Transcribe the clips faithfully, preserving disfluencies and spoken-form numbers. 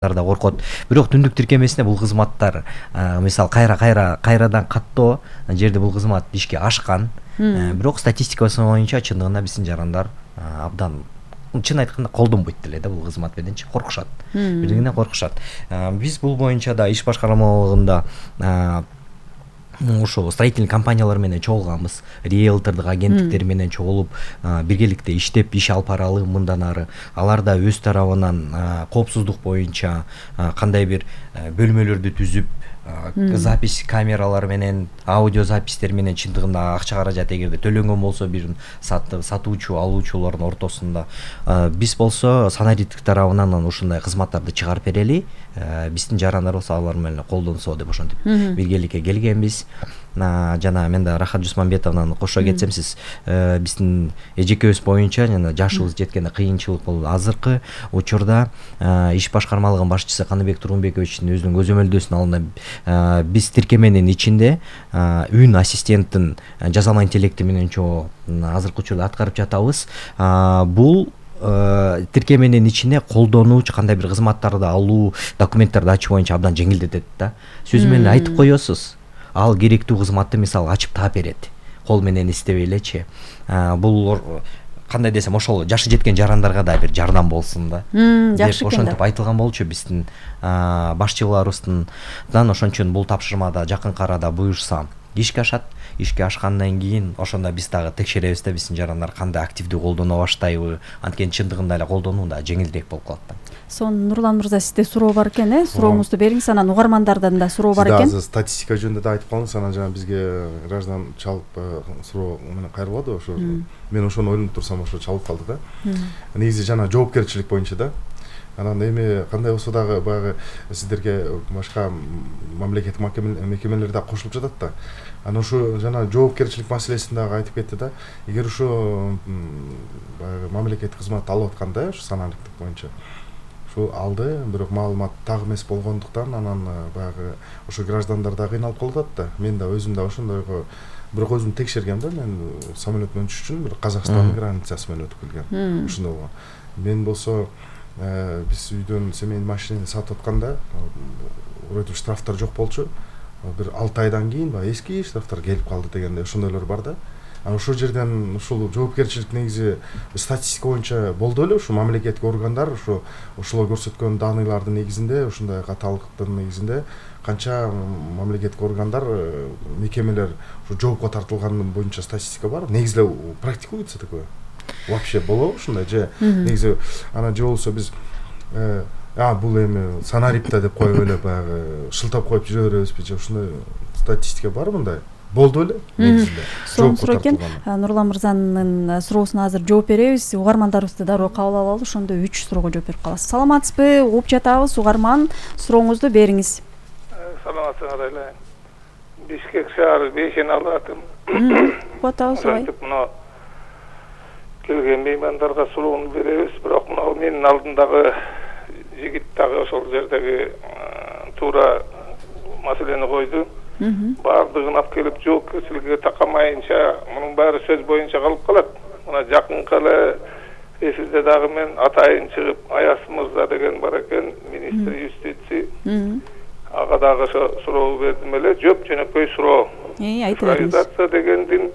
да коркот. Бирок түндүк тиркемесинде бул кызматтар мисалы кайра кайра кайрадан каттоо жерде бул кызмат ишке ашкан. Бирок статистикасы боюнча чындыгында биздин жарандар абдан чын айтканда колдонбойт деле да бул кызмат мененчи, коркушат. Бирдигинен коркушат. Биз бул боюнча да иш башкармалыгында ошо строительный компаниялар менен чогулганбыз, риэлтордук агенттиктер менен чогулуп биргеликте иштеп иш алып баралы мындан ары. Алар да өз тарабынан коопсуздук боюнча кандай бир бөлмөлөрдү түзүп, запись камералар менен, аудио запистер менен чындыгында акча каражат эгерде төлөнгөн болсо бир сатуучу алуучулардын ортосунда биз болсо санариттик тарабынан ушундай кызматтарды чыгарып берели. Биздин жарандар болсо алар менен колдонсо деп ошентип биргеликке келгенбиз. Жана мен да Рахат Жусманбетовнан кошо кетсем, сиз биздин эжекебиз боюнча жана жашыбыз жеткенде кыйынчылык болду. Азыркы учурда иш башкармалыгынын башчысы Каныбек Тургунбековичтин өзүнүн көзөмөлдөөсүнүн алдында биз тиркеменин ичинде үн ассистенттин жасалма интеллекти менен чогуу азыркы учурда аткарып жатабыз. Бул тиркеменин ичине колдонуучу кандай бир кызматтарды алуу, документтерди ачуу боюнча абдан жеңилдетет да. Сөзү менен айтып коесуз. Ал керектүү кызматты мисалы ачып таап берет. Кол менен издебей элечи. Бул кандай десем, ошол жашы жеткен жарандарга да бир жардам болсун да. Жакшы экен. Ошентип айтылган болчу биздин башчыларыбыздан. Ошон үчүн бул тапшырмада жакынкы арада буюрса ишке ашат. Ишке ашкандан кийин ошондо биз дагы текшеребиз да биздин жарандар кандай активдүү колдоно баштайбы. Анткени чындыгында эле колдонуу да жеңилирээк болуп калат да. Сонун Нурлан мырза, сизде суроо бар экен, э? Сурооңузду бериңиз, анан угармандардан да суроо бар экен. Сиз статистика жөнүндө да айтып калдыңыз, анан жана бизге граждан чалып суроо менен кайрылды. Ошо мен ошону ойлонуп турсам ошо чалып калды да. Негизи жана жоопкерчилик боюнча да. Анан эми кандай болсо дагы баягы сиздерге башка мамлекеттик мекемелер да кошулуп жатат да. Анан ошо жана жоопкерчилик маселесин дагы айтып кетти да. Эгер ошо баягы мамлекеттик кызмат алып атканда, ошо саналыктык боюнча ошо алды, бирок маалымат так эмес болгондуктан анан баягы ошо граждандар да кыйналып калып атат да. Мен да өзүм да ошондойго бирок өзүм текшергем да. Мен самолет менен учуш үчүн бир Казакстандын границасы менен өтүп келгем. Ошондой болгон. Мен болсо биз үйдөн семейный машинени сатып атканда вроде штрафтар жок болчу. Бир алты айдан кийин баягы эски штрафтар келип калды дегенде ошондойлор бар да. Анан ошол жерден ушул жоопкерчилик негизи статистика боюнча болду эле. Ушу мамлекеттик органдар ошо ошолор көрсөткөн даныйлардын негизинде, ушундай каталыктын негизинде канча мамлекеттик органдар, мекемелер ушу жоопко тартылганы боюнча статистика бар. Негизи эле практикуется такое. Вообще болобу ушундай же негизи анан же болсо биз а бул эми санарипта деп коюп эле баягы шылтап коюп жүрө беребизби же ушундай статистика бар мындай? Болду эле негизинде. Сонун суроо экен. Нурлан мырзанын суроосуна азыр жооп беребиз. Угармандарыбызды дароо кабыл алалы, ошондо үч суроого жооп берип каласыз. Саламатсызбы? Угуп жатабыз. Угарман, сурооңузду бериңиз. Саламатсыңар эле. Бишкек шаары бешен алатым. Угуп атабыз ой. Мына келген меймандарга суроону беребиз, бирок мына менин алдымдагы жигит дагы ошол жердеги туура маселени койду. Баардыгын алып келип жоопкерчиликке такамайынча мунун баары сөз боюнча калып калат. Мына жакынкы эле эфирде дагы мен атайын чыгып, Аяс мырза деген бар экен, министр юстиции. Ага дагы ошо суроо бердим эле, жооп жөнөкөй суроо. Цифровизация дегендин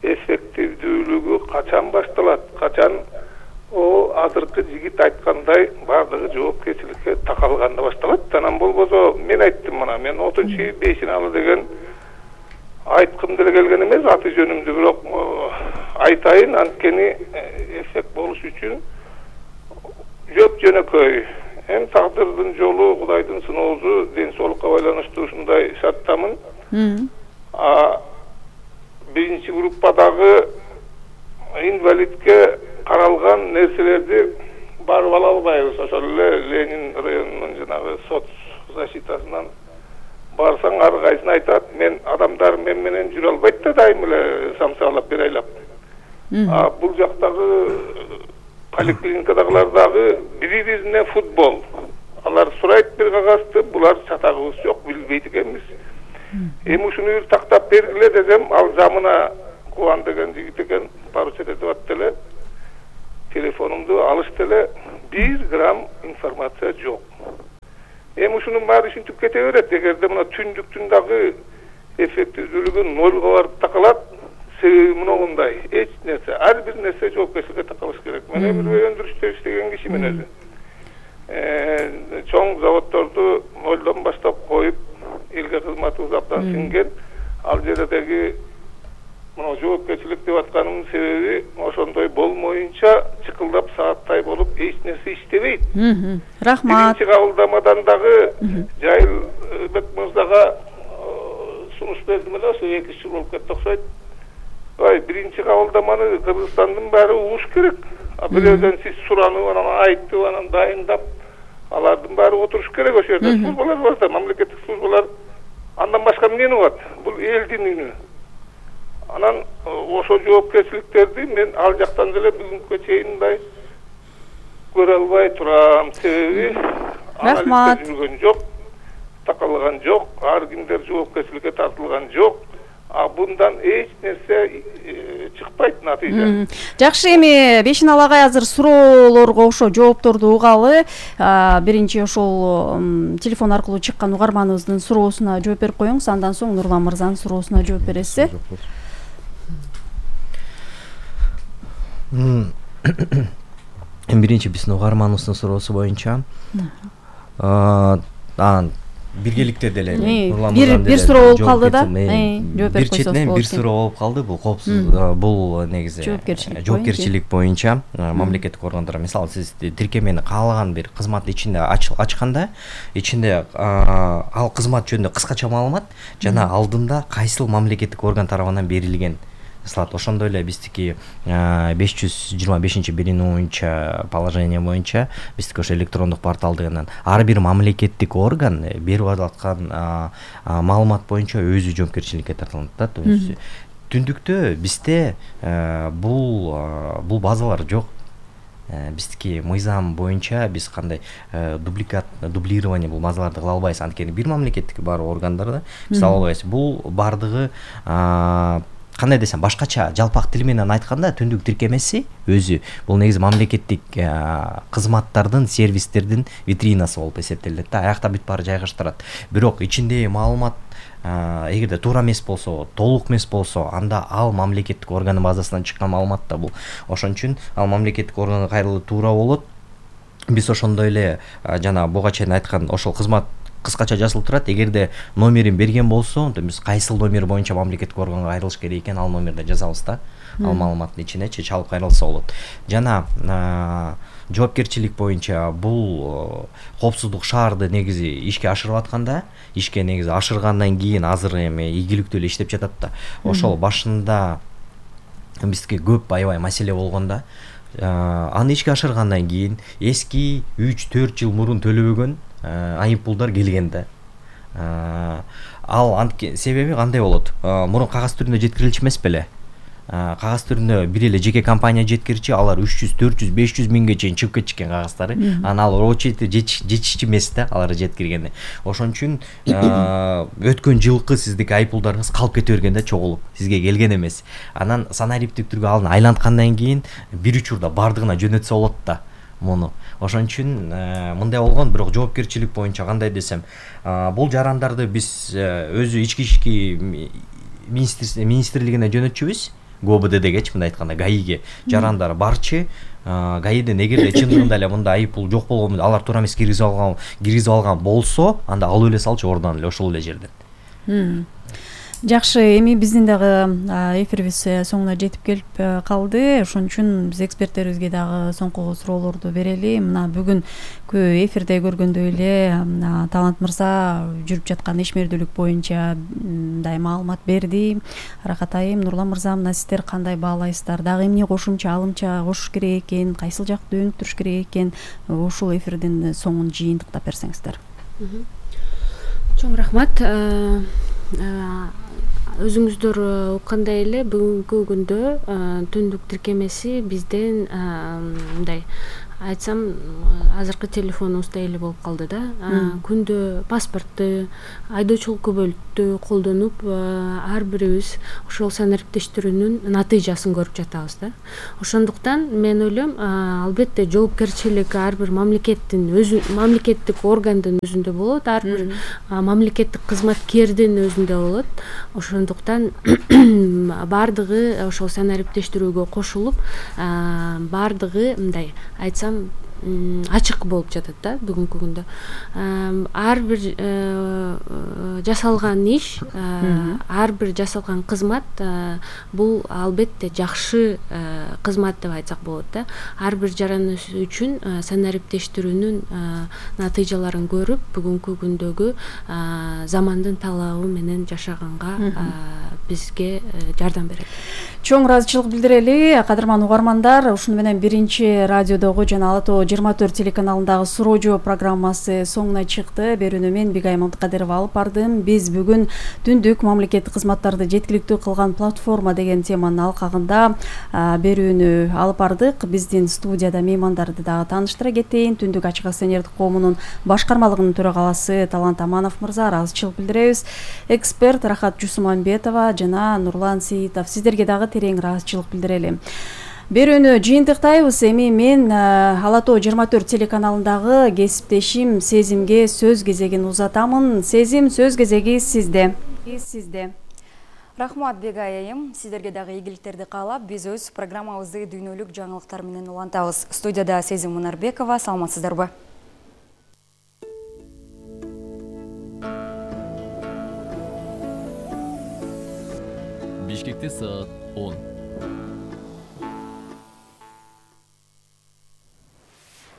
эффективдүүлүгү качан башталат? Качан о азыркы жигит айткандай баардыгы жоопкерчиликке такалганда башталат? Анан болбосо мен айттым, мына мен отунчу үй бешиналы деген айткым деле келген эмес аты жөнүмдү, бирок айтайын, анткени эффект болуш үчүн жооп жөнөкөй. Эми тагдырдын жолу, Кудайдын сыноосу, ден соолукка байланыштуу ушундай шарттамын. Биринчи группадагы инвалидке каралган нерселерди барып ала албайбыз. Ошол эле Ленин районунун жанагы соц защитасынан барсаң ар кайсын айтат, мен адамдар мен менен жүрө албайт да дайым эле самсаалап бир айлап. А бул жактагы поликлиникадагылар дагы бири-бирине футбол. Алар сурайт бир кагазды, булар чатагыбыз жок, билбейт экенбиз. Эми ушуну бир тактап бергиле десем, ал замына Кубан деген жигит экен, поручет этип атты эле. Телефонумду алышты эле, бир грамм информация жок. эми ушунун баары ушинтип кете берет. Эгерде мына түндүктүн дагы эффективдүүлүгү нолго барып такалат, себеби мындай, эч нерсе, ар бир нерсе жоопкерчиликке такалыш керек. Мен бир өндүрүштө иштеген кишимин өзү. Чоң заводдорду нолдон баштап коюп, элге кызматыбыз абдан сиңген. Ал жердеги мына жоопкерчилик деп атканымдын себеби ошондой болмоюнча чыкылдап сааттай болуп эч нерсе иштебейт. Рахмат. Биринчи кабылдамадан дагы Жайылбек мырзага сунуш бердим эле, ошо эки жыл болуп кетти окшойт. Ой, биринчи кабылдаманы Кыргызстандын баары угуш керек. А бирөөдөн сиз суранып, анан айтып, анан дайындап, алардын баары отуруш керек ошол жерде. Службалар бар да, мамлекеттик службалар. Андан башка эмне болот? Бул элдин үнү. Анан ошо жоопкерчиликтерди мен ал жактан деле бүгүнкү чейин мындай көрө албай турам. Себеби рахмат жүргөн жок, такалган жок, ар кимдер жоопкерчиликке тартылган жок. А bundan эч нерсе чыкпайт натыйжа. Жакшы, эми Бешинал агай азыр суроолорго ошо жоопторду угалы. Биринчи ошол телефон аркылуу чыккан угарманыбыздын суроосуна жооп берип коюңуз, андан соң Нурлан мырзанын суроосуна жооп бересиз. Биринчи биздин угарманыбыздын суроосу боюнча биргеликте деле бир бир суроо болуп калды да. Бир четинен бир суроо болуп калды. Бул коопсуз, бул негизи жоопкерчилик боюнча мамлекеттик органдар, мисалы сиз тиркемени каалаган бир кызмат ичинде ачканда, ичинде ал кызмат жөнүндө кыскача маалымат жана алдында кайсыл мамлекеттик орган тарабынан берилген салат. Ошондой эле биздики беш жүз жыйырма бешинчи биринин боюнча положение боюнча биздики ошо электрондук порталдыгынан ар бир мамлекеттик орган берип аткан маалымат боюнча өзү жоопкерчиликке тартылат да. То есть түндүктө бизде бул бул базалар жок. Биздики мыйзам боюнча биз кандай дубликат, дублирование бул базаларды кыла албайбыз. Анткени бир мамлекеттик бар органдарда биз ала албайбыз. Бул бардыгы кандай десем, башкача жалпак тил менен айтканда түндүк тиркемеси өзү бул негизи мамлекеттик кызматтардын, сервистердин витринасы болуп эсептелет да. Аякта бүт баары жайгаштырат. Бирок ичиндеги маалымат эгерде туура эмес болсо, толук эмес болсо, анда ал мамлекеттик органдын базасынан чыккан маалымат да бул. Ошон үчүн ал мамлекеттик органга кайрылуу туура болот. Биз ошондой эле жана буга чейин айткан ошол кызмат кыскача жазылып турат. Эгерде номерин берген болсо, биз кайсыл номер боюнча мамлекеттик органга кайрылыш керек экен, ал номерди жазабыз да. Ал маалыматтын ичинечи чалып кайрылса болот. Жана жоопкерчилик боюнча бул коопсуздук шаарды негизи ишке ашырып атканда, ишке негизи ашыргандан кийин азыр эми ийгиликтүү эле иштеп жатат да. Ошол башында бизге көп аябай маселе болгондо, аны ишке ашыргандан кийин эски үч төрт жыл мурун төлөбөгөн айыппулдар келген да. Ал себеби кандай болот? Мурун кагаз түрүндө жеткирилчү эмес беле? Кагаз түрүндө бир эле жеке компания жеткирчи, алар үч жүз, төрт жүз, беш жүз миңге чейин чыгып кетишкен кагаздары. Аны ал очередь жетишчү эмес да, алар жеткиргени. Ошон үчүн өткөн жылкы сиздики айыппулдарыңыз калып кете берген да, чогулуп, сизге келген эмес. Анан санариптик түргө алын айланткандан кийин бир учурда бардыгына жөнөтсө болот да муну. Ошон үчүн мындай болгон, бирок жоопкерчилик боюнча кандай десем, бул жарандарды биз өзү ички ишки министрлигине жөнөтчүбүз. ГОБДдгечи мындай айтканда ГАИге жарандар барчы. ГАИден эгерде чындыгында эле мындай айыппул жок болгон, алар туура эмес киргизип алган, киргизип алган болсо, анда алып эле салчу ордон эле ошол эле жерден. Жакшы, эми биздин дагы эфирибиз соңуна жетип келип калды. Ошон үчүн биз эксперттерибизге дагы соңку суроолорду берели. Мына бүгүнкү эфирде көргөндөй эле Талант мырза жүрүп жаткан ишмердүүлүк боюнча мындай маалымат берди. Аракат айым, Нурлан мырза, мына сиздер кандай баалайсыздар? Дагы эмне кошумча, алымча кошуш керек экен? Кайсыл жакты өнүктүрүш керек экен? Ушул эфирдин соңун жыйынтыктап берсеңиздер. Чоң рахмат. Өзүңүздөр уккандай эле бүгүнкү күндө түндүк тиркемеси бизден мындай айтсам азыркы телефонубузда эле болуп калды да. Күндө паспортту, айдоочулук күбөлүктү колдонуп ар бирибиз ошол санариптештирүүнүн натыйжасын көрүп жатабыз да. Ошондуктан мен ойлойм, албетте жоопкерчилик ар бир мамлекеттин өзү мамлекеттик органдын өзүндө болот, ар бир мамлекеттик кызматкердин өзүндө болот. Ошондуктан баардыгы ошол санариптештирүүгө кошулуп, баардыгы мындай айтсам ачык болуп жатат да бүгүнкү күндө. Ар бир жасалган иш, ар бир жасалган кызмат бул албетте жакшы кызмат деп айтсак болот да. Ар бир жараныбыз үчүн санариптештирүүнүн натыйжаларын көрүп, бүгүнкү күндөгү замандын талабы менен жашаганга бизге жардам берет. Чоң ыраазычылык билдирели, кадырман угармандар. Ушуну менен биринчи радиодогу жана Ала Тоо жыйырма төрт телеканалындагы суроо жооп программасы соңуна чыкты. Берүүнү мен Бигай Маматкадырова алып бардым. Биз бүгүн түндүк мамлекеттик кызматтарды жеткиликтүү кылган платформа деген теманын алкагында берүүнү алып бардык. Биздин студияда меймандарды дагы тааныштыра кетейин. Түндүк ачык акционердик коомунун башкармалыгынын төрагаласы Талант Аманов мырза, ыраазычылык билдиребиз. Эксперт Рахат Жусумамбетова жана Нурлан Сейитов, сиздерге дагы терең ыраазычылык билдирели. Берүүнү жыйынтыктайбыз. Эми мен Ала Тоо жыйырма төрт телеканалындагы кесиптешим Сезимге сөз кезегин узатамын. Сезим, сөз кезеги сизде. Сизде. Рахмат Бегай айым, сиздерге дагы ийгиликтерди каалап, биз өз программабызды дүйнөлүк жаңылыктар менен улантабыз. Студияда Сезим Мунарбекова, саламатсыздарбы? Бишкекте саат он.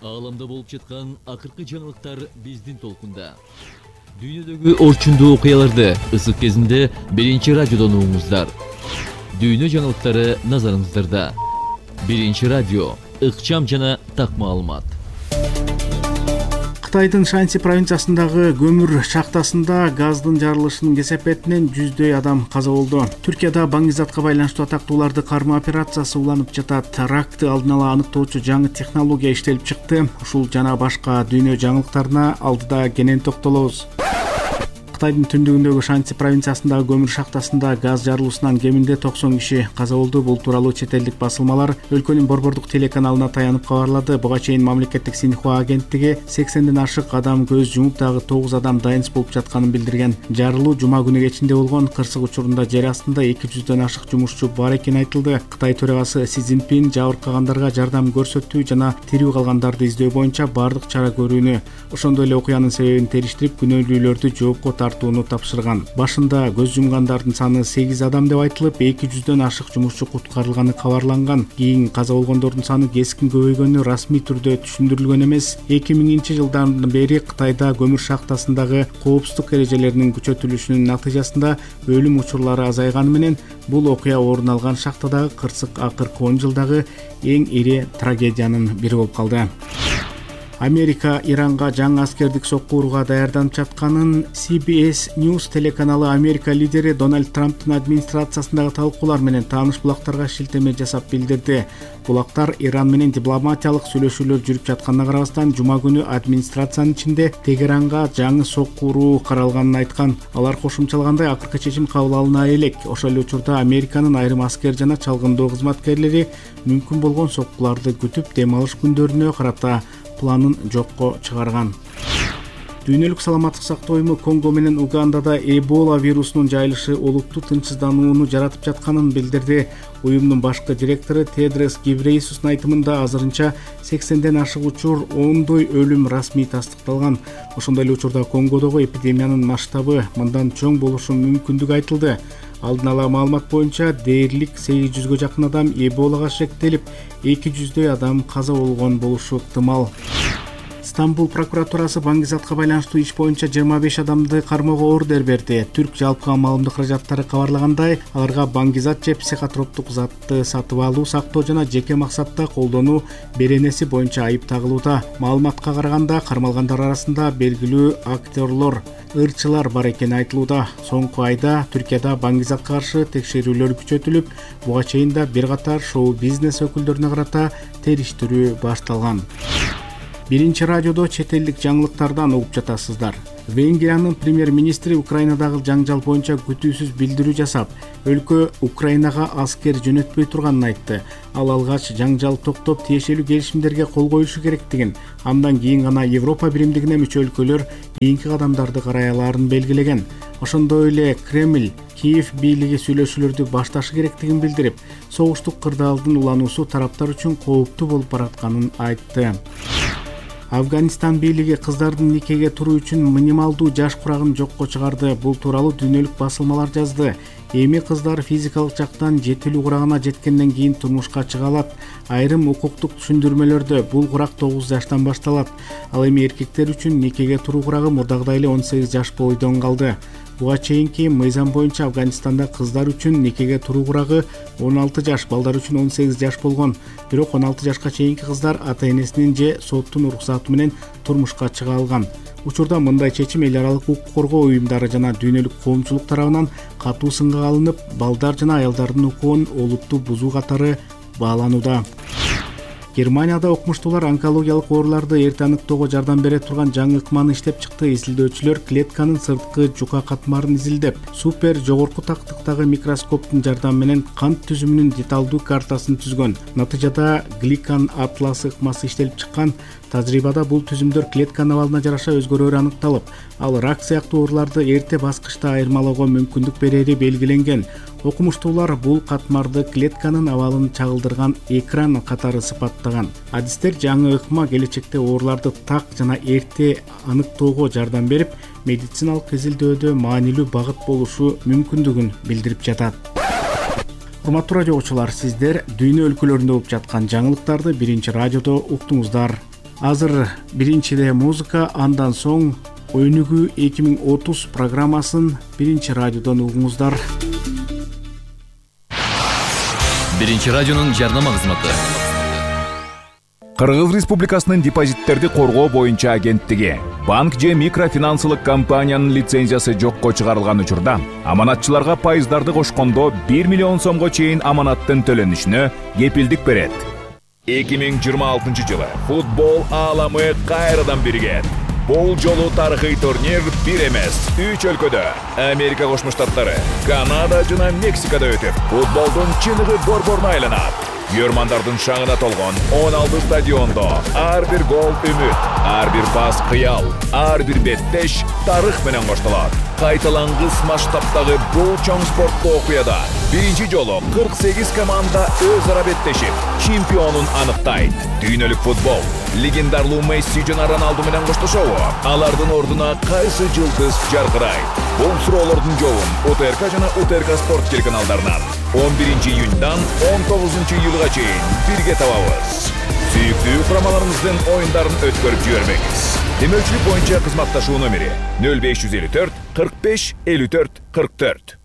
Ааламда болуп жаткан акыркы жаңылыктар биздин толкунда. Дүйнөдөгү орчундуу окуяларды ысык кезинде биринчи радиодон угуңуздар. Дүйнө жаңылыктары назарыңыздарда. Биринчи радио, ыкчам жана так маалымат. Кытайдын Шанси провинциясындагы көмүр шахтасында газдын жарылышынын кесепетинен жүздөй адам каза болду. Түркияда баңгизатка байланыштуу атактууларды кармоо операциясы уланып жатат. Ракты алдын ала аныктоочу жаңы технология иштелип чыкты. Ушул жана башка дүйнө жаңылыктарына алдыда кенен токтолобуз. Кытайдын түндүгүндөгү Шанси провинциясындагы көмүр шахтасында газ жарылуусунан кеминде токсон киши каза болду. Бул тууралуу чет элдик басылмалар өлкөнүн борбордук телеканалына таянып кабарлады. Буга чейин мамлекеттик Синьхуа агенттиги сексенден ашык адам көз жумуп, дагы тогуз адам дайынсыз болуп жатканын билдирген. Жарылуу жума күнү кечинде болгон. Кырсык учурунда жер астында эки жүздөн ашык жумушчу бар экени айтылды. Кытай төрагасы Си Цзиньпин жабыркагандарга жардам көрсөтүү жана тирүү калгандарды издөө боюнча бардык чара көрүүнү, ошондой эле окуянын себебин териштирип, күнөөлүүлөрдү жоопко тартууну тапшырган. Башында көз жумгандардын саны сегиз адам деп айтылып, эки жүздөн ашык жумушчу куткарылганы кабарланган. Кийин каза болгондордун саны кескин көбөйгөнү расмий түрдө түшүндүрүлгөн эмес. эки миңинчи жылдан бери Кытайда көмүр шахтасындагы коопсуздук эрежелеринин күчөтүлүшүнүн натыйжасында өлүм учурлары азайганы менен бул окуя орун алган шахтадагы кырсык акыркы он жылдагы эң ири трагедиянын бири болуп калды. Америка Иранга жаңы аскердик сокку урууга даярданып жатканын Си Би Эс News телеканалы Америка лидери Дональд Трамптын администрациясындагы талкуулар менен тааныш булактарга шилтеме жасап билдирди. Булактар Иран менен дипломатиялык сүйлөшүүлөр жүрүп жатканына карабастан, жума күнү администрациянын ичинде Тегеранга жаңы сокку уруу каралганын айткан. Алар кошумчалагандай, акыркы чечим кабыл алына элек. Ошол эле учурда Американын айрым аскер жана чалгындоо кызматкерлери мүмкүн болгон соккуларды күтүп, дем алыш күндөрүнө карата планын жокко чыгарган. Дүйнөлүк саламаттык сактоо уюму Конго менен Угандада Эбола вирусунун жайылышы олуттуу тынчсызданууну жаратып жатканын билдирди. Уюмдун башкы директору Тедрос Гебрейесустун айтымында азырынча сексенден ашык учур, ондой өлүм расмий тастыкталган. Ошондой эле учурда Конгодогу эпидемиянын масштабы мындан чоң болушу мүмкүндүгү айтылды. Алдын ала маалымат боюнча дээрлик сегиз жүзгө жакын адам Эболага шектелип, эки жүздөй адам каза болгон болушу ыктымал. Стамбул прокуратурасы баңгизатка байланыштуу иш боюнча жыйырма беш адамды кармоого ордер берди. Түрк жалпы маалымдык каражаттары кабарлагандай, аларга баңгизат же психотроптук затты сатып алуу, сактоо жана жеке максатта колдонуу беренеси боюнча айып тагылууда. Маалыматка караганда, кармалгандар арасында белгилүү актерлор, ырчылар бар экени айтылууда. Соңку айда Түркияда баңгизатка каршы текшерүүлөр күчөтүлүп, буга чейин да бир катар шоу-бизнес өкүлдөрүнө карата териштирүү башталган. Биринчи радиодо чет элдик жаңылыктардан угуп жатасыздар. Венгриянын премьер-министри Украинадагы жаңжал боюнча күтүүсүз билдирүү жасап, өлкө Украинага аскер жөнөтпөй турганын айтты. Ал алгач жаңжал токтоп тиешелүү келишимдерге кол коюшу керектигин, андан кийин гана Европа биримдигине мүчө өлкөлөр кийинки кадамдарды карай алаарын белгилеген. Ошондой эле Кремль Киев бийлиги сүйлөшүүлөрдү башташы керектигин билдирип, согуштук кырдаалдын улануусу тараптар үчүн кооптуу болуп баратканын айтты. Афганистан бийлиги кыздардын никеге туруу үчүн минималдуу жаш курагын жокко чыгарды. Бул тууралуу дүйнөлүк басылмалар жазды. Эми кыздар физикалык жактан жетилүү курагына жеткенден кийин турмушка чыга алат. Айрым укуктук түшүндүрмөлөрдө бул курак тогуз жаштан башталат. Ал эми эркектер үчүн никеге туруу курагы мурдагыдай эле он сегиз жаш бойдон калды. Буга чейинки мыйзам боюнча Афганистанда кыздар үчүн никеге туруу курагы он алты жаш, балдар үчүн он сегиз жаш болгон. Бирок он алты жашка чейинки кыздар ата-энесинин же соттун уруксаты менен турмушка чыга алган. Учурда мындай чечим эл аралык укук коргоо уюмдары жана дүйнөлүк коомчулук тарабынан катуу сынга алынып, балдар жана аялдардын укугун олуттуу бузуу катары бааланууда. Германияда окумуштуулар онкологиялык ооруларды эрте аныктоого жардам бере турган жаңы ыкманы иштеп чыкты. Изилдөөчүлөр клетканын сырткы жука катмарын изилдеп, супер жогорку тактыктагы микроскоптун жардамы менен кант түзүмүнүн деталдуу картасын түзгөн. Натыйжада гликан атласы ыкмасы иштелип чыккан. Тажрыйбада бул түзүмдөр клетканын абалына жараша өзгөрөөрү аныкталып, ал рак сыяктуу ооруларды эрте баскычта айырмалоого мүмкүндүк берери белгиленген. Окумуштуулар бул катмарды клетканын абалын чагылдырган экран катары сыпаттаган. Адистер жаңы ыкма келечекте ооруларды так жана эрте аныктоого жардам берип, медициналык изилдөөдө маанилүү багыт болушу мүмкүндүгүн билдирип жатат. Урматтуу радио окуучулар, сиздер дүйнө өлкөлөрүндө болуп жаткан жаңылыктарды Биринчи радиодо уктуңуздар. Азыр биринчиде музыка, андан соң Өнүгүү эки миң отуз программасын Биринчи радиодон угуңуздар. Биринчи радионун жарнама кызматы. Кыргыз Республикасынын депозиттерди коргоо боюнча агенттиги банк же микрофинансылык компаниянын лицензиясы жокко чыгарылган учурда аманатчыларга пайыздарды кошкондо бир миллион сомго чейин аманаттын төлөнүшүнө кепилдик берет. эки миң жыйырма алтынчы жылы футбол ааламы кайрадан биригет. Бул жолу тарыхый турнир бир эмес, үч өлкөдө Америка Кошмо Штаттары, Канада жана Мексикада өтүп, футболдун чыныгы борборуна айланат. Көрмандардын шаңына толгон он алты стадиондо ар бир гол үмүт, ар бир пас кыял, ар бир беттеш тарых менен коштолот. Кайталангыс масштабтагы бул чоң спорттуу окуяда биринчи жолу кырк сегиз команда өз ара беттешип, чемпионун аныктайт. Дүйнөлүк футбол легендарлуу Месси жана Роналду менен коштошобу? Алардын ордуна кайсы жылдыз жаркырайт? Бул суроолордун жообун УТРК жана УТРК спорт телеканалдарынан он биринчи июньдан он тогузунчу июлга чейин бирге табабыз. Сүйүктүү курамаларыбыздын оюндарын өткөрүп жибербеңиз. Демөөлчүлүк боюнча кызматташуу номери нөл беш жүз элүү төрт кырк беш элүү төрт кырк төрт.